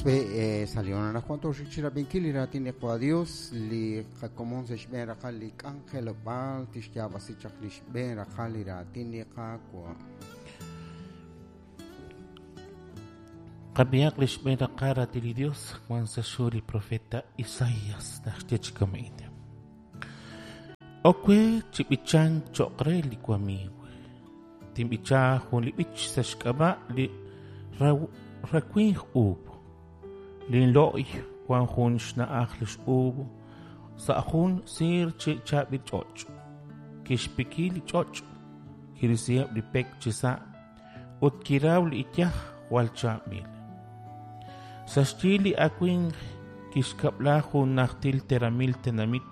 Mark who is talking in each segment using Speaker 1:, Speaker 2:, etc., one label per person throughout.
Speaker 1: Sa' li anaqwan tooxik chi rab'inkil li raatin li Qaawa' Dios, li qakomon sa' xb'een raqal li k'anjelob'aal tixyaab'asi chaq li xb'een raqal li raatin li Qaawa'.
Speaker 2: Qab'ihaq li xb'een raqal raatin li Dios wan sa' xhu li profeta Isaías naxye chi kama'in. Ok we chi b'ichank cho'q re li wamiiw. Tinb'icha jun li b'ich sa' xk'ab'a' li rawimq uub'. Linlo'y wan jun xna'aj li x'uub' sa' jun siir chi chaab'il ch'och'. Kixpiki li ch'och', kirisiheb' li pek chisa' ut kiraw li iyaj jwal chaab'il. Sa' xyi li awimq kixkab'la jun najtil teramil tenamit,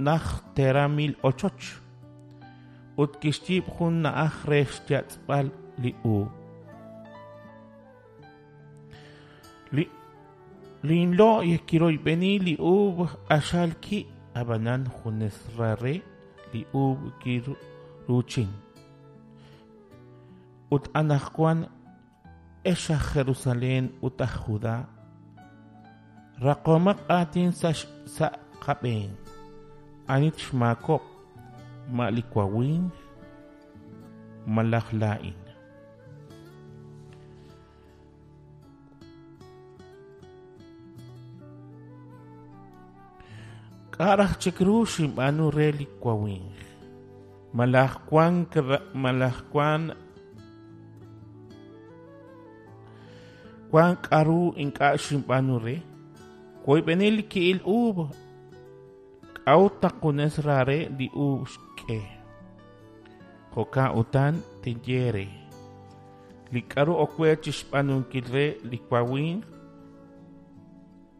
Speaker 2: najt teramil ochoch, ut kixyiib' jun na'aj re xyatz'b'al li uub'. Linlo'y kiroyb'eni li uub' q'axal ki', ab'anan junes ra re li uub' kiruuchin. Ut anaqwan, ex aj Jerusalén ut aj Judá, raqomaq aatin sa' qab'een. Ani xmaakob'k? Ma li wawimq malaj laa'in? K'a' raj chik ru xinb'aanu re li wawimq? Malaj wank malaj wank wank k'aru ink'a' xinb'aanu re? Woyb'eni li ki'il uub', k'a'ut naq junes ra re li uub' xk'e? Jo'kan utan tinye eere, li k'aru ok we chi xb'aanunkil re li wawimq,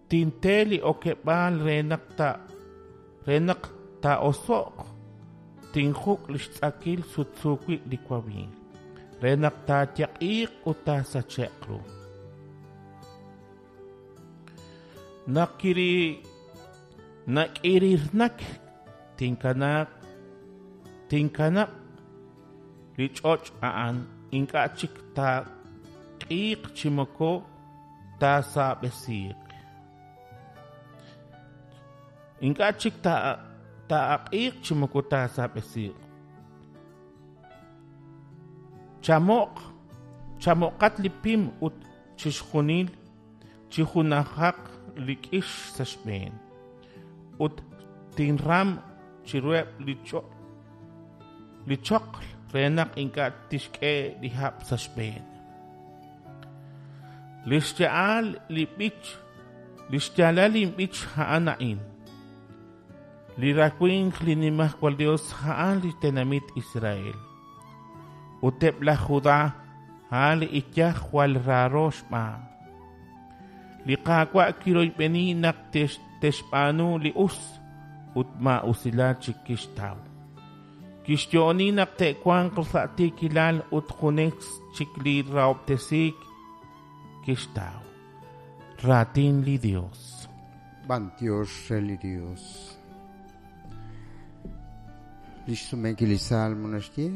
Speaker 2: tinte li okeb'aal re naq ta re naq taa'oso'q, tinjuk' li xtz'akil sutsu wi' li wawimq, re naq taayeq'iiq ut taasache'q ru. Naq nak'irirnak tinkanaaq tinkanab' li ch'och' a'an ink'a' chik taaq'iiq chi moko taasaab'esiiq. Ink'a' chik taaq'iiq chi moko taasaab'esiiq. Chamo'q chamo'qat li pim ut chixjunil chi junajaq li k'ix sa' xb'een, ut tinram chiruheb' li li choql re naq ink'a' tixk'e li hab' sa' xb'een. Li xya'al li b'ich, li xyaalal linb'ich a'an a'in. Li rawimq li Nimajwal Yos a'an li tenamit Israel, ut eb' laj Judá a'an li iyaj jwal raaro xb'aan. Li Qaawa' kiroyb'eni naq te'xb'aanu li us ut maa'usilal chik kixtaw. Kixyo'oni naq te'wanq sa' tiikilal ut junes chik li rahob'tesiik kixtaw. Raatin li Yos.
Speaker 1: B'antiox re li Dios. Li xsumenkil li Salmo naxye,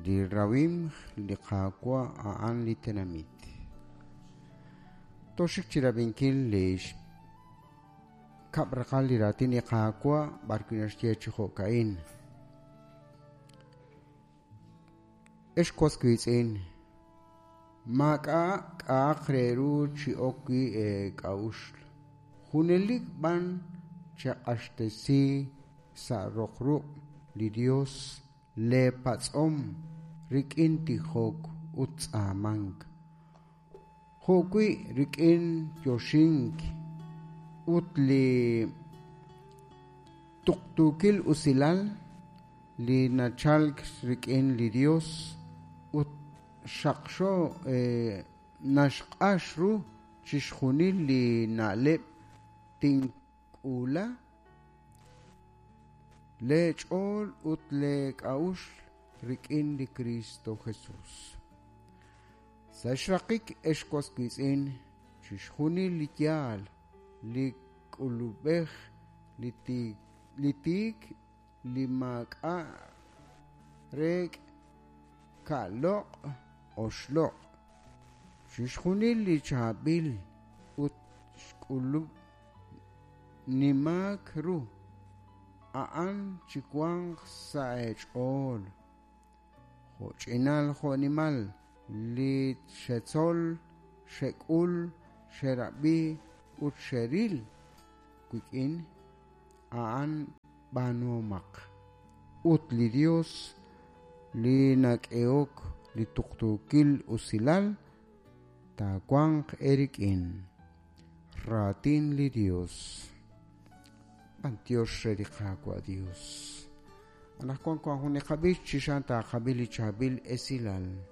Speaker 1: li rawimq li Qaawa' a'an li tenamit. Tooxik chi rab'inkil li xkab' raqal li raatin li Qaawa' b'arwi' naxye chi jo'ka'in. Ex was wiitz'in, maak'a' k'a'aq re ru chi ok wi' eek'a'uxl. Junelik b'an cheq'axtesi sa' roq ruq' li Dios leepatz'om rik'in tijok ut tz'aamank. Jo'wi' rik'in yoxink ut li tuqtuukil usilal li nachalk rik'in li Dios ut xaqxo naxq'ax ru chixjunil li na'leb' tink'uula leech'ool ut leek'a'uxl rik'in li Cristo Jesús. Sa' xraqik ex was wiitz'in, chixjunil li yaal, li k'ulub'ej, li tiik, li maak'a' reek' ka'loq' oxloq'. Chixjunil li chaab'il ut xk'ulub' nimaak ru, a'an chiwanq sa' eech'ool. Jo'ch'inal jo'nimal li xetzol, xek'ul, xerab'i ut xeril wik'in, a'an b'aanuhomaq. Ut li Dios li nak'ehok li tuqtuukil usilal taawanq eerik'in. Raatin li Dios. B'antiox re li Qaawa' Dios. Anaqwan wank jun li qab'ich chi xan taaqab'i li chaab'il esilal.